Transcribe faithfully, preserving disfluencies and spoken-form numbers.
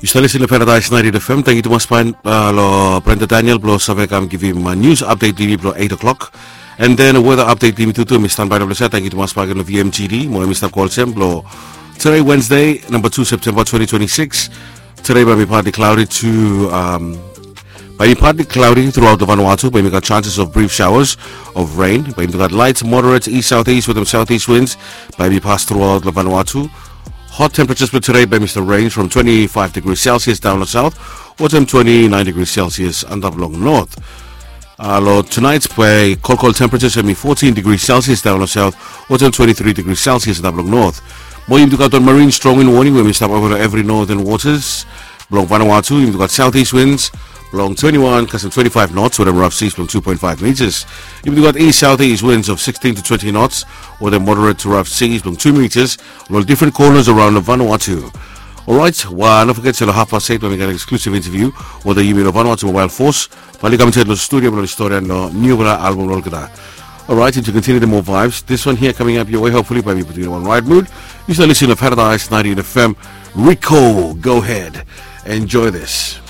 Yu stap lisin long Paradise ninety-eight F M. Tangkiu tumas bae long Brenda Daniel blong save kam givim nius apdet long yumi blong eight o'clock. And then weather update long yumi tu tu mi stanbae long ples ya. Tangkiu tumas bae long V M G D mo yumi stap kolsem blong today Wednesday, number two September twenty twenty-six. Today bae mi partly cloudy to um, bae mi partly cloudy throughout the Vanuatu. Bae mi gat chances of brief showers of rain. Bae mi gat light, moderate east southeast with some southeast winds. Bae mi pas throughout the Vanuatu. Hot temperatures for today bae mi stap range from twenty-five degrees Celsius down the south, or some twenty-nine degrees Celsius antap long north. Uh, long tonight bae kolkol temperatures bae mi fourteen degrees Celsius down the south, or some twenty-three degrees Celsius antap long north. Mo yumi tu gat wan marine strong wind warning bae mi stap over every northern waters. Blong Vanuatu yumi tu gat southeast winds blong twenty-one kasem twenty-five knots, wetem rough seas blong two point five meters. Yumi tu gat east southeast winds of sixteen to twenty knots, wetem moderate to rough seas blong two meters, long different corners around Vanuatu. Alright, wa no forget se long half past eight bae mi gat exclusive interview wetem yumi long Vanuatu Mobile Force. Bae oli kam insaed long studio blong oli stori long niupela album blong olgeta. Alright, and to continue the more vibes, this one here coming up your way, hopefully bae mi putum yu long wan right mood. Yu stap lisin long Paradise ninety-eight F M. Rico, go ahead, enjoy this.